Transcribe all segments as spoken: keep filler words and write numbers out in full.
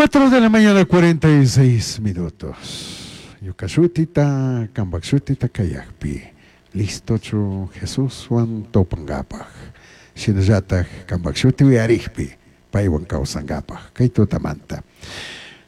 Cuatro de la mañana, cuarenta y seis minutos. Ñuka shutita, kambak shutita kayakpi. Listochu Jesuswan tupangapaj. Shinallataj kambak shuti uyarikpi paywan kawsangapaj. Kay tutamanta.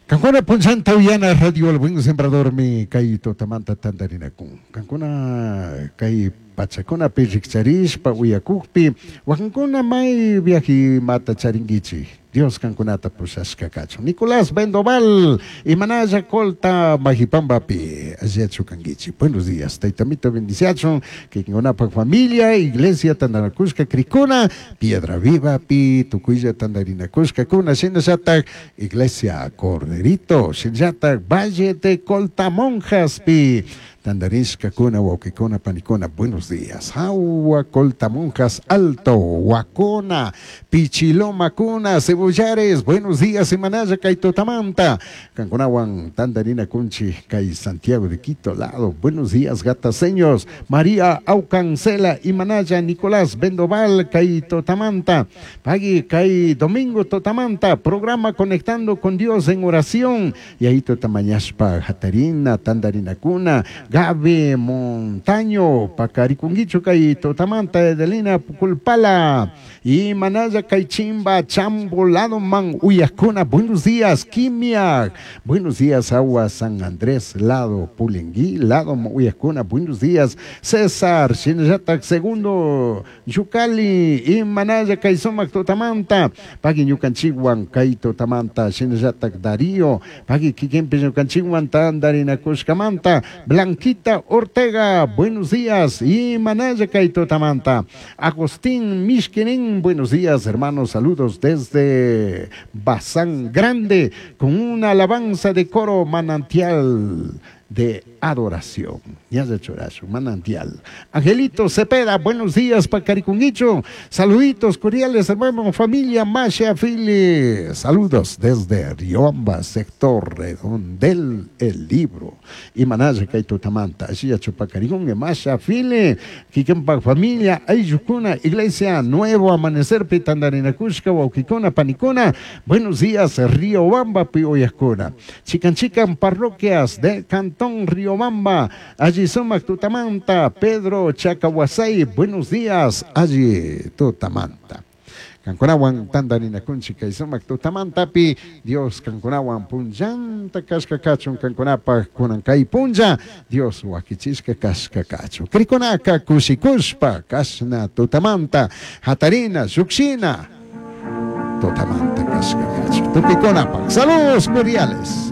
Kankuna punchanta uyana Radio El Buen Sembradormi kay tutamanta tantarinakun. Kankuna kay pachakunapi rikcharishpa uyakukpi wakinkuna may viaje mata charinkichik. Dios kankunata pushashka kachun. Nicolás Bendoval, Imanaya Colta, Majipambapi, alliachu kankichik. Buenos días, taytamito bendiciachun, kikinkunapaj familia, iglesia tandanakushka krikuna, Piedra Viva pi, tukuylla tandarinakushka kuna, shinallatak Iglesia Corderito, shinallatak Valle de Colta Monjas pi, tandarishka kuna, wawqikuna, panikuna, buenos días. Agua, Colta Monjas, Alto, Huacona, Pichiloma kuna, Cebollares, buenos días, Imanaya, kay tutamanta, Kankunawan, Tandarina Kunchi, kay Santiago de Quito, lado, buenos días, Gataseños, María Aucancela, Imanaya, Nicolás Bendoval, kay tutamanta, Pagui, kay Domingo Totamanta, programa Conectando con Dios en oración, y ahí Totamañaspa, Jatarina, Tandarina Kuna, Gaby Montaño, Pacarikunguicho, kay Totamanta, Edelina Puculpala, y Manaya, kay Chimba, Chambo, Lado Man, Uyacuna, buenos días, Quimia, buenos días, Agua San Andrés, Lado Pulengui, Lado Uyacuna, buenos días, César, Shinayatak, segundo, Yucali, y Manaya, kay Sumac, Totamanta, Pagui Ñucanchiguan, kay Totamanta, Shinayatak, Darío, Pagui Kikempe, Ñucanchiguan, Tandarina Cushcamanta, Blanquita Ortega, buenos días, y Manaya, kay Totamanta, Agustín Mishkinin, buenos días, hermanos, saludos desde Bazán Grande, con una alabanza de coro manantial de adoración. Ya se chorazo, manantial. Angelito Cepeda, buenos días, Pacaricunguicho. Saluditos cordiales, hermano, familia Masha Fili. Saludos desde Riobamba, sector Redondel, el libro. Y Manaya Kaito Tamanta, Ashia Chupacaricungue, Masha Fili, Kikempa familia, Ayucuna, Iglesia Nuevo Amanecer, Pitandarinacushka, Huauquicuna, Panicuna. Buenos días, Riobamba, Pioyacuna. Chican Chican, parroquias de Cantón Riobamba, allí Sumac Tutamanta, Pedro Chacahuasay, buenos días, allí Tutamanta. Kankunawan tandarina kunchi kay sumak tutamantapi, Dios kankunawan punllanta kashka kachun kankunapaj kunan kay punlla, Dios wakichishka kashka kachun. Krikunaka kushikushpa kashna tutamanta, hatarina shukshina, tutamanta kashka kachun. Tukikunapaj, saludos cordiales.